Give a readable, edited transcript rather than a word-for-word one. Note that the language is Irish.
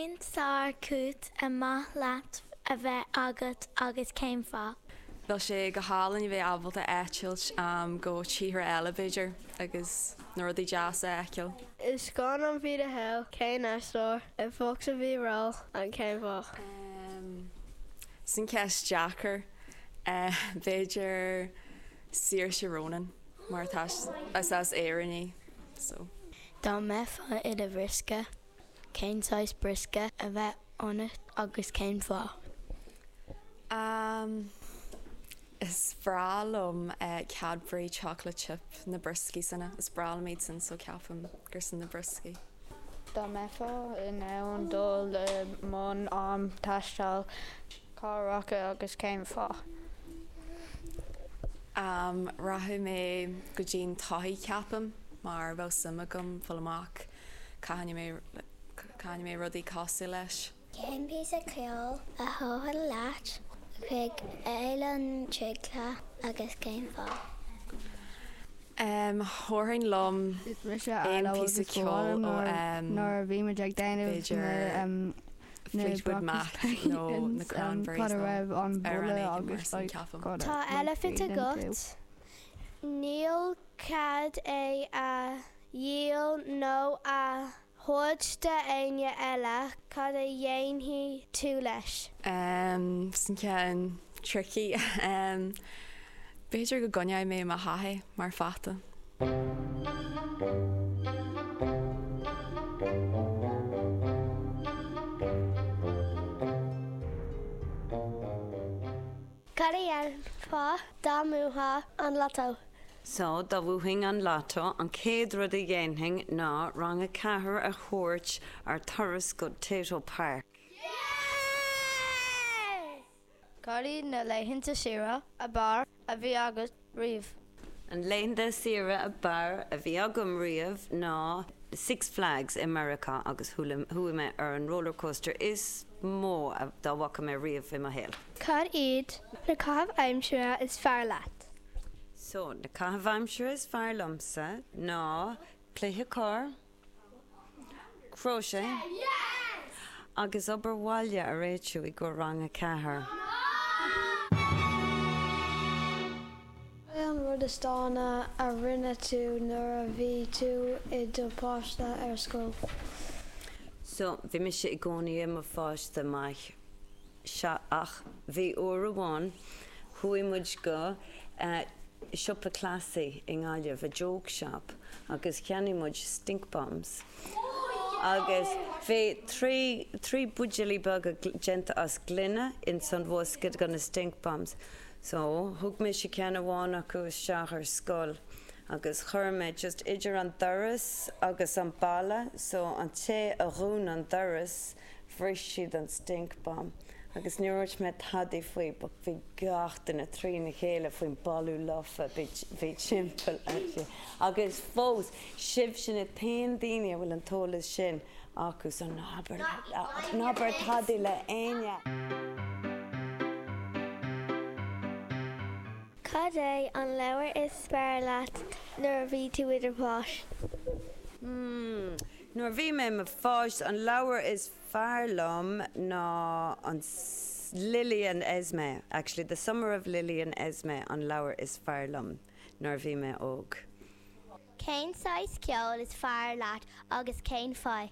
Cén sár-chúis ar mhaith leat a bheith agat agus cén fáth? Bheadh sé go hálainn a bheith ábalta eitilt go tíortha eile b'fhéidir agus na rudaí deasa a fheiceáil. I scannán bhí do shaol, cén aisteoir a bheadh sa bhí ról and cén fáth? Sin ceist deacair. B'fhéidir Saoirse Ronan mar tá is as Éirinn í so. Dá mbeifeá i do bhriosca, cén saghas briosca a bheadh ionat agus cén fáth? Am, Is breá liom Cadbury chocolate chip, na brioscaí sin, is breá liom iad sin so ceapaim gur sin na brioscaí. Dá mbeifeá in ann dul i mbun am taistil, cá rachadh agus cén fáth? Am, Rachadh mé go dtí'n todhchaí ceapaim mar bheadh suim agam fáil amach cá ndeachaigh mé rudaí cosúil leis. Cén píosa ceoil a thabharfá leat chuig Oileán Traochta agus cén fáth? Thabharfainn liom aon phíosa ceoil ó b'fhéidir Fleetwood Mac nó na Cranberries nó amhrán éigin mar sin, ceapaim. Tá eilifint agat. Níl cead é a dhíol nó a thabhairt d'éinne eile, cad a dhéanfaidh tú leis? Sin ceann tricky. B'fhéidir go gcoinneoidh mé i mo theach é mar pheata. Cad a dhéanfá dá mbuafá an lotto? So, dá bhuafainn an lotto, an chéad rud a dhéanfainn ná rang a ceathair a thabhairt ar turas go Tayto Park. Cad iad na laethanta saoire ab fhearr a bhí agat riamh? An laethanta saoire ab fhearr a bhí agam riamh ná Six Flags i Meiriceá agus chuaigh mé ar an roller coaster is mó dá bhfaca mé riamh i mo shaol. Cad iad na caithimh aimsire is fearr leat? So, na caithimh aimsire is fearr liomsa ná cluiche corr, crochet agus obair bhaile a réitiú i gcomhair rang a ceathair. Cad é an rud is dána a rinne tú nuair a bhí tú i do pháiste ar scoil? So, bhí mise i gcónaí i mo pháiste maith. Sea, ach bhí uair amháin, chuaigh muid go siopa cleasaí i nGaillimh, a joke shop, agus cheannaigh muid stink bombs. Agus bhí trí, trí buidéalaí beaga déanta as gloine ins an bhosca de na stink bombs. So, thug mise ceann amháin acu isteach ar scoil agus chuir mé just idir an doras agus an balla, so an té a dhún an doras, Bhris siad an stink bomb agus níor dhúirt mé tadaí faoi but bhí gach duine trína chéile faoin boladh lofa bhí timpeall agus fós sibhse na t-aon daoine a bhfuil an t-eolas sin acu so ná habair ná habair tadaí le éinne. Cad é an leabhar is fearr leat nuair a bhí tú i do pháiste? Hmm. Nuair a bhí mé i mo pháiste, an leabhar is fearr liom ná an Lily and Esme, actually The Summer of Lily and Esme an leabhar is fearr liom nuair a bhí mé óg. Cén saghas ceoil is fearr leat agus cén fáth?